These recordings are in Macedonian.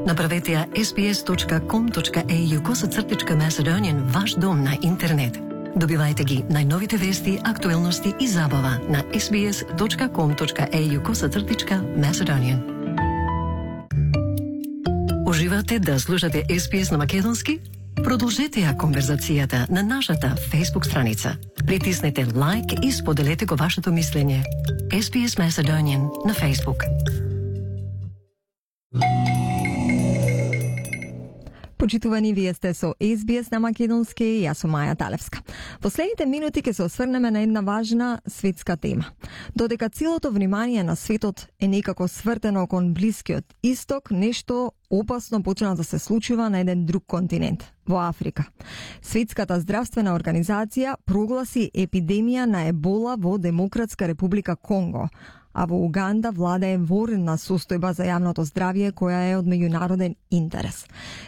Направете ја sbs.com.au/Macedonian ваш дом на интернет. Добивајте ги најновите вести, актуелности и забава на sbs.com.au/Macedonian. Уживате да слушате SBS на македонски? Продолжете ја конверзацијата на нашата Facebook страница. Притиснете лайк и споделете го вашето мислење. SBS Macedonian на Facebook. Почитувани, вие сте со SBS на македонски и јас сум Маја Талевска. Последните минути ќе се осврнеме на една важна светска тема. Додека целото внимание на светот е некако свртено кон Блискиот Исток, нешто опасно почна да се случува на еден друг континент, во Африка. Светската здравствена организација прогласи епидемија на ебола во Демократска република Конго, а во Уганда владее военна состојба за јавното здравје која е од меѓународен интерес.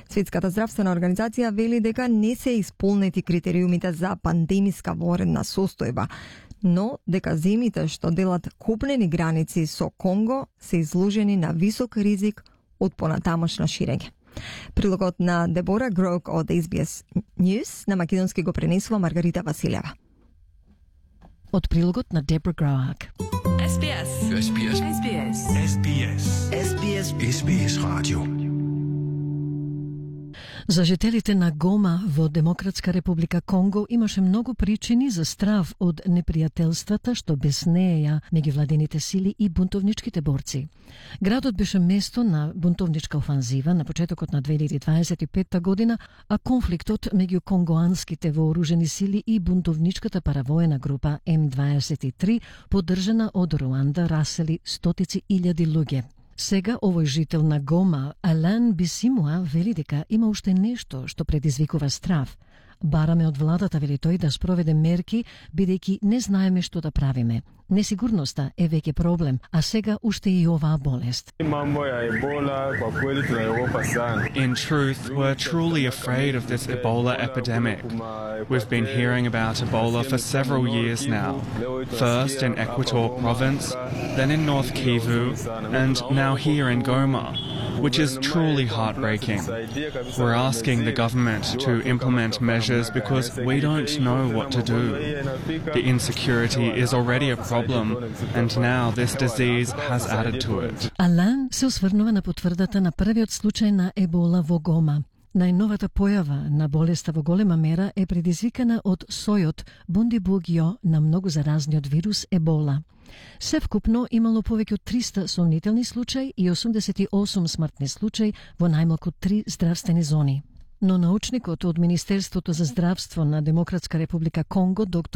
Светската здравствена организација вели дека не се исполнети критериумите за пандемиска военна состојба, но дека земите што делат копнени граници со Конго се изложени на висок ризик од понатамошно ширење. Прилогот на Дебора Грок од SBS News на македонски го пренесува Маргарита Василева. Од прилогот на Дебора Грок. SBS. SBS. SBS. SBS. SBS. SBS Radio. За жителите на Гома во Демократска република Конго имаше многу причини за страв од непријателствата што безнеја меѓувладените сили и бунтовничките борци. Градот беше место на бунтовничка офанзива на почетокот на 2025 година, а конфликтот меѓу конгоанските вооружени сили и бунтовничката паравоена група М23, поддржана од Руанда, расели стотици илјади луѓе. Сега овој жител на Гома, Алан Бисимуа, вели дека има уште нешто што предизвикува страв. Бараме од владата, вели тој, да спроведе мерки, бидејќи не знаеме што да правиме. Несигурноста е веќе проблем, а сега уште и оваа болест. In truth, we're truly afraid of this Ebola epidemic. We've been hearing about Ebola for several years now. First in Equator province, then in North Kivu, and now here in Goma, which is truly heartbreaking. We're asking the government to implement measures because we don't know what to do. The insecurity is already a problem, and now this disease has added to it. Алан се осврнува на потврдата на првиот случај на ебола во Гома. Најновата појава на болеста во голема мера е предизвикана од сојот бундибугио на многу заразниот вирус ебола. Севкупно имало повеќе од 300 сомнителни случаи и 88 смртни случаи во најмалку 3 здравствени зони. Но научникот од Министерството за здравство на Демократска република Конго, доктор